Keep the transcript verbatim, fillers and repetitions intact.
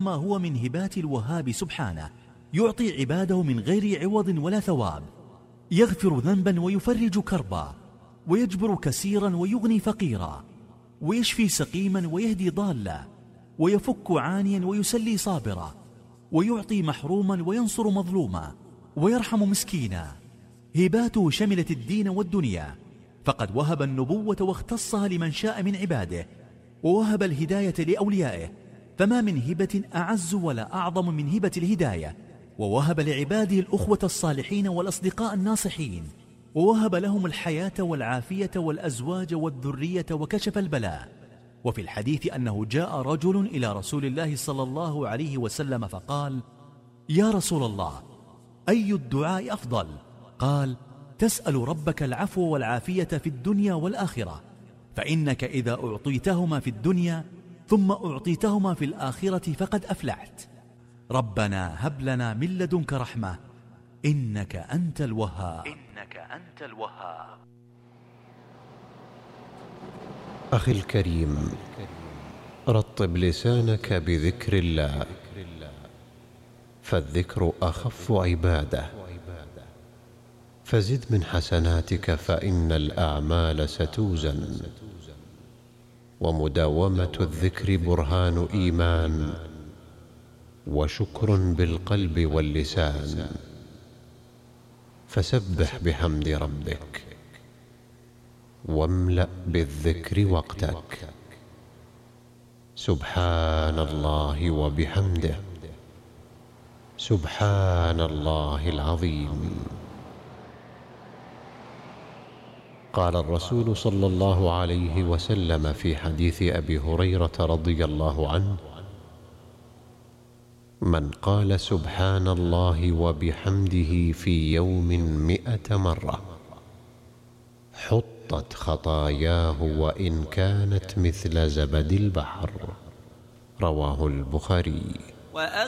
ما هو من هبات الوهاب سبحانه، يعطي عباده من غير عوض ولا ثواب، يغفر ذنبا ويفرج كربا، ويجبر كسيرا ويغني فقيرا، ويشفي سقيما ويهدي ضالا، ويفك عانيا ويسلي صابرا، ويعطي محروما وينصر مظلوما، ويرحم مسكينا. هباته شملت الدين والدنيا، فقد وهب النبوة واختصها لمن شاء من عباده، ووهب الهداية لأوليائه، فما من هبة أعز ولا أعظم من هبة الهداية. ووهب لعباده الأخوة الصالحين والأصدقاء الناصحين، ووهب لهم الحياة والعافية والأزواج والذرية وكشف البلاء. وفي الحديث أنه جاء رجل إلى رسول الله صلى الله عليه وسلم فقال: يا رسول الله، أي الدعاء أفضل؟ قال: تسأل ربك العفو والعافية في الدنيا والآخرة، فإنك إذا أعطيتهما في الدنيا ثم أعطيتهما في الآخرة فقد أفلحت. ربنا هب لنا من لدنك رحمة إنك أنت الوهاب. إنك أنت الوهاب. أخي الكريم، رطب لسانك بذكر الله، فالذكر أخف عبادة، فزد من حسناتك فإن الأعمال ستوزن، ومداومة الذكر برهان إيمان وشكر بالقلب واللسان، فسبح بحمد ربك واملأ بالذكر وقتك. سبحان الله وبحمده، سبحان الله العظيم. قال الرسول صلى الله عليه وسلم في حديث أبي هريرة رضي الله عنه: من قال سبحان الله وبحمده في يوم مئة مرة حطت خطاياه وإن كانت مثل زبد البحر. رواه البخاري.